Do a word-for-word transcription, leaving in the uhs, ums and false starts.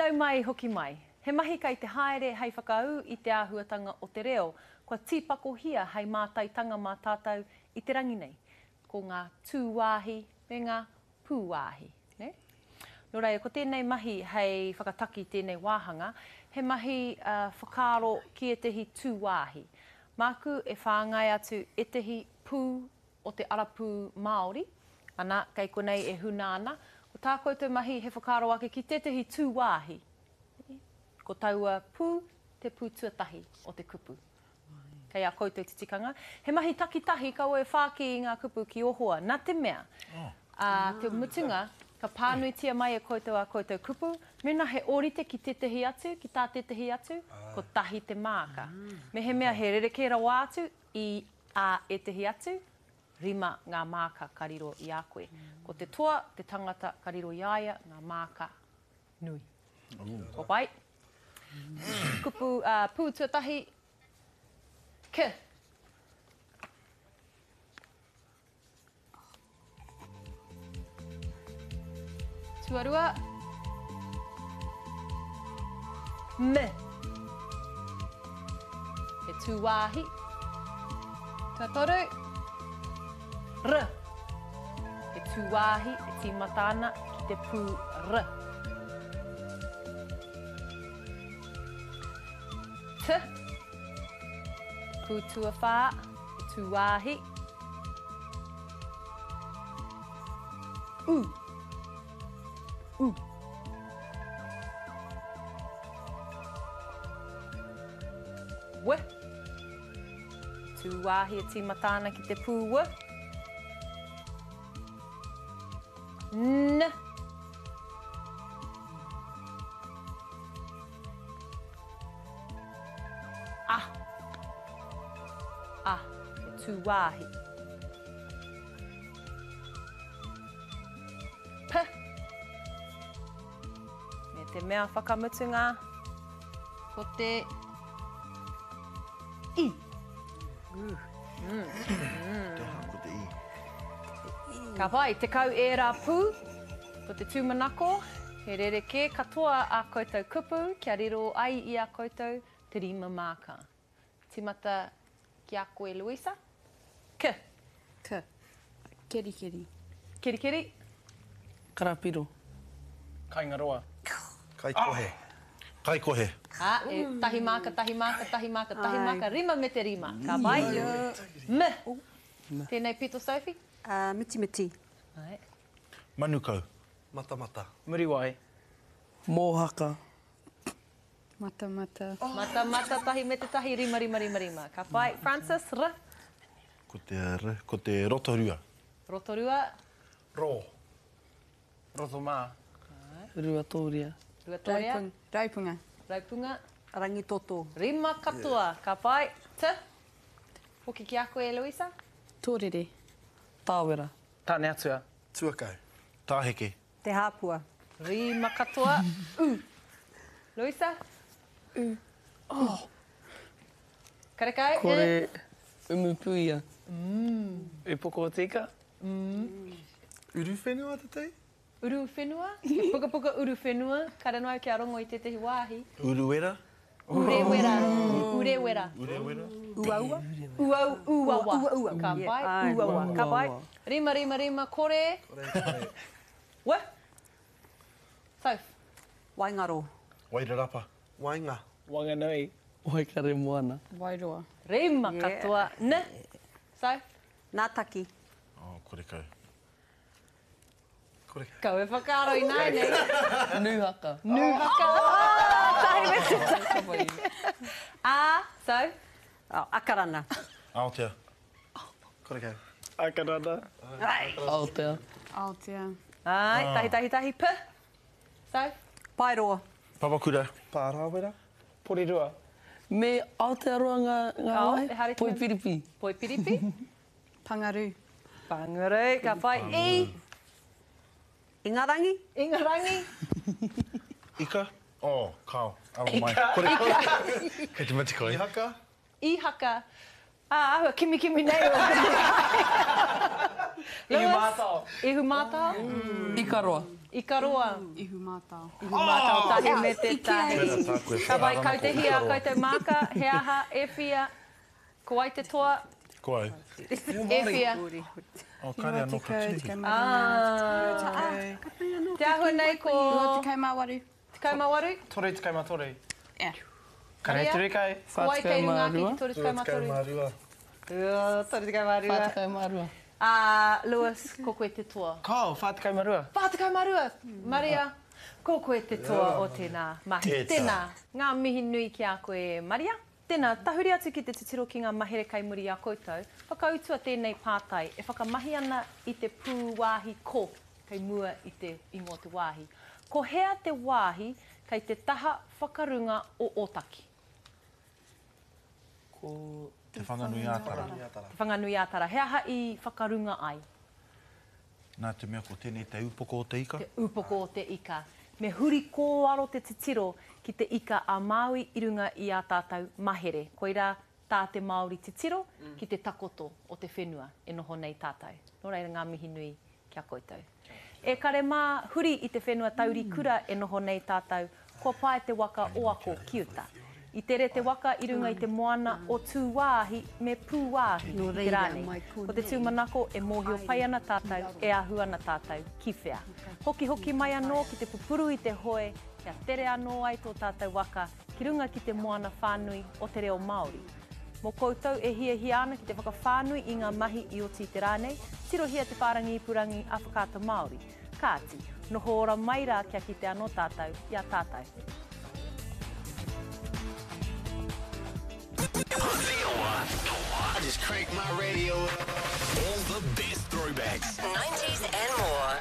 Nau mai, hoki mai. He mahi kei te haere hei whakaū i te āhuatanga o te reo, kua tīpakohia hei mātaitanga mā tātou i te rangi nei. Ko ngā tūwāhi me ngā pūwāhi. Ne? Nō reira, ko tēnei mahi hei whakataki tēnei wāhanga, he mahi uh, whakaaro ki ētehi tūwāhi. Māku e whāngai atu ētehi pū o te arapū Māori, ana, kei konei e huna ana, ko tā koutou mahi he whakaaro ake ki tētehi tūwāhi. Ko taua pū, te pū tuatahi o te kupu. Kei a koutou te tikanga. He mahi takitahi kaua e whāki i ngā kupu ki ohoa. Nā te mea, oh. ā, te mutunga, ka pānuitia mai e koutou a koutou kupu, mēnā he ōrite ki tētehi atu, ki tā tētehi atu, kotahi te māka. Mehemea he rerekē rawa atu i a ētehi atu, rima ngā māka ka riro i a koe. Ko te toa, te tangata ka riro i a ia, ngā māka nui. Ko pai? Kupu uh, pū tuatahi, K. Tuarua, M. He tūwāhi. Tuatoru, R. He tūwāhi e tīmata ana ki te pū R. T. Pū tuawhā, he tūwāhi. U. U. W. Tūwāhi e tīmata ana ki te pū W. N. A. A. He tūwāhi. P. Me te mea whakamutunga, ko te I. Mm. Mm. Ko te I. Ka pai, tekau ērā pū, ko te tūmanako, he rerekē katoa a koutou kupu kia riro ai i a koutou te rima māka. Timata ki a koe, Louisa. K. K. Kerikeri. Kerikeri. Karapiro. Kaingaroa. Kaikohe. Kaikohe. Ah, e, tahi māka, tahi māka, tahi māka, tahi māka, rima me te rima. Ka pai. M. Tēnei pito, Sophie? Uh, mitimiti. Ai. Manukau. Matamata. Muriwai. Mōhaka. Matamata. Oh. Matamata, tahi me te tahi, rima, rima, rima, rima. Ka pai. Francis, R. Ko te R, ko te Rotorua. Rotorua. Rō. Rotomā. Ruatōria. Ruatōria. Raupung, Raupunga. Raupunga. Rangitoto. Rima katoa. Yeah. Ka pai. T. Hoki ki a koe, Louisa. Tōrere. Tāwera. Tāneatua. Tuakau. Tāheke. Te Hāpua. Rima katoa. U. Louisa? U. Oh. Karekau? Kore umupuia. Mm. Upoko o tika. Mm. Uruwhenua te tei? Uruwhenua? He pukapuka uruwhenua. Kare noa kia rongo i tētehi wāhi. Uruwera? Urewera. Urewera. Urewera. Uaua? Uau, uawa. Uaua. Ka pai. Uaua. Ka pai. Rima, rima, rima, kore. Kore, kore. W. Soph. Waingaro. Wairarapa. Wainga. Wanganui. Waikaremoana. Wairoa. Rima katoa. N. Soph. Nātaki. Oh, kore kau. Kore kau. Kau e whakaaro i nāianei. Nūhaka. Nūhaka. Oh, tahi me te tahi. A, so. Oh, Akarana. Aotea. Kore kau. Akarana. Aotea. Aotea. Ai, tahi, tahi, tahi. P. So. Paeroa. Papakura. Pārāwera. Porirua. Me Aotearoa ngā, ngā Ao, wai? e haere ki me- Poipiripi. Poipiripi. Pangarū. Pangarū. Ka pai. I. Ingarangi. Ingarangi. Ika. Oh, kao. Aro mai. Kore kau. Kei te mate koe. Ihaka. Ihaka. Ah, āhua kimikimi nei o. Ihu mātao. Ihu mātao? Ikaroa. Ikaroa. Ihu mātao. Ihu mātao tahi me te tahi. Tērā tāku e Ka vai whakaara ana ko kautehia Ikaroa. koutou māka, he aha, e whia, ko ai te toa, Ko ai. e whia. Oh, kare anō ka tuhi. Ah. Te āhua nei ko... Rua tekau mā waru. Tekau mā waru? Toru tekau mā toru. Yeah. Kare Maria? turu kai. Ko ai kei runga ake ki toru tekau mā Tekau toru? mā rua. Ua, toru tekau mā rua. Whā tekau mā rua. Ah, Lewis, ko koe te toa. Kao, whā tekau mā rua. Whā tekau mā rua. Maria, ko koe te toa o tēnā mahi. Tētā. Tēnā, ngā mihi nui ki a koe, Maria. Tēnā, tahuri atu ki te titiro ki ngā mahere kai muri a koutou. Whakautua tēnei pātai e whakamahi ana i te pūwāhi ko kei mua i te ingoa te wāhi. Ko hea te wāhi kei te taha whakarunga o Ōtaki? Ko Te Whanganui-ā-Tara. Te Whanganui-ā-Tara. He aha i whakarunga ai? Nā te mea ko tēnei te upoko o te ika. Te upoko o te ika. Me huri kōaro te titiro ki te ika a Māui i runga i a tātou mahere. Koirā tā te Māori titiro ki te takoto o te whenua e noho nei tātou. Nō reira ngā mihi nui ki a koutou. E kare mā, huri i te whenua taurikura e noho nei tātou, kua pae te waka o ako ki uta. I tere te waka i runga i te moana o Tūwāhi me Pūwāhi i te rā nei. Ko te tūmanako e mōhio pai ana tātou, e ahu ana tātou ki whea. Hoki hoki mai anō ki te pupuru i te hoe, kia tere anō ai tō tātou waka ki runga ki te moana whānui o te reo Māori. Mō koutou e hiahia ana ki te whakawhānui i ngā mahi i oti i te rā nei, tirohia te whārangi ipurangi a Whakaata Māori. Kāti, noho ora mai rā kia kite anō tātou i a tātou. I just crank my radio up. All the best throwbacks. nineties and more.